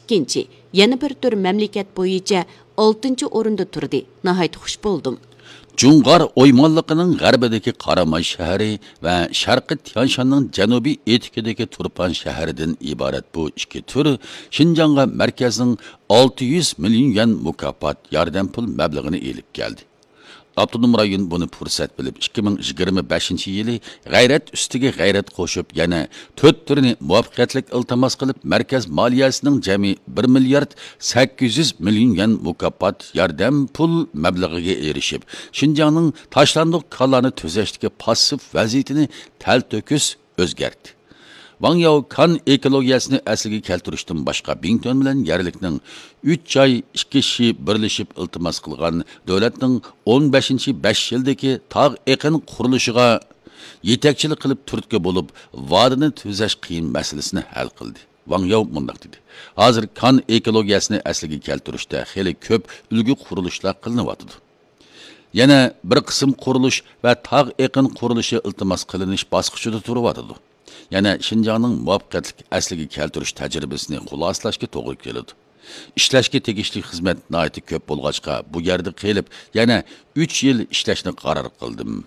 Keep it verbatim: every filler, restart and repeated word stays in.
ئىككىنچى، يەنە بىر تۈر مەملىكەت بويىچە ئالتىنچى ئورۇندا تۇردى. ناھايىتى خۇش بولدۇم. جۇڭغار ئويمانلىقىنىڭ غەربىدىكى قاراماي شەھىرى ۋە شەرقىي تيانشاننىڭ جەنۇبىي ئېتىكىدىكى تۇرپان شەھىرىدىن ئىبارەت بۇ ئىككى تۈر شىنجاڭغا مەركەزنىڭ ئالتە يۈز مىليون يۈەن مۇكاپات ياردەم پۇل مەبلىغىنى ئېلىپ كەلدى. ئاپتونوم رايون بۇنى پۇرسەت بىلىپ، ئىككى مىڭ يىگىرمە بەشىنچى يىلى غەيرەت ئۈستىگە غەيرەت قوشۇپ، يەنە تۆت تۈرنى مۇۋەپپەقىيەتلىك ئىلتىماس قىلىپ، مەركەز مالىيەسىنىڭ جەمئىي بىر مىليارد سەككىز يۈز مىليون يۈەن مۇكاپات ياردەم پۇل مەبلىغىگە ئېرىشىپ، شىنجاڭنىڭ تاشلاندۇق كانلارنى تۈزەشتىكى پاسسىپ ۋەزىيىتىنى تەلتۆكۈس ئۆزگەرتتى. ۋاڭ ياۋ كان ئېكولوگىيەسىنى ئەسلىگە كەلتۈرۈشتىن باشقا، بىڭتۈەن بىلەن يەرلىكنىڭ ئۈچ جاي ئىككى شى بىرلىشىپ ئىلتىماس قىلغان دۆلەتنىڭ ئون بەشىنچى بەش يىلدىكى تاغ ئېقىن قۇرۇلۇشىغا يېتەكچىلىك قىلىپ تۈرتكە بولۇپ، ۋادىنى تۈزەش قىيىن مەسىلىسىنى ھەل قىلدى. ۋاڭ ياۋ مۇنداق دېدى: «ھازىر كان ئېكولوگىيەسىنى ئەسلىگە كەلتۈرۈشتە خېلى كۆپ ئۈلگە قۇرۇلۇشلار قىلىنىۋاتىدۇ. يەنە بىر قىسىم قۇرۇلۇش ۋە تاغ ئېقىن قۇرۇلۇشى ئىلتىماس قىلىنىش باسقۇچىدا تۇرۇۋاتىدۇ. يەنە شىنجاڭنىڭ مۇۋەپپەقىيەتلىك ئەسلىگە كەلتۈرۈش تەجرىبىسىنى خۇلاسىلەشكە توغرا كېلىدۇ. ئىشلەشكە تېگىشلىك خىزمەت ناھايىتى كۆپ بولغاچقا، بۇ يەردە قېلىپ، يەنە ئۈچ يىل ئىشلەشنى قارار قىلدىم.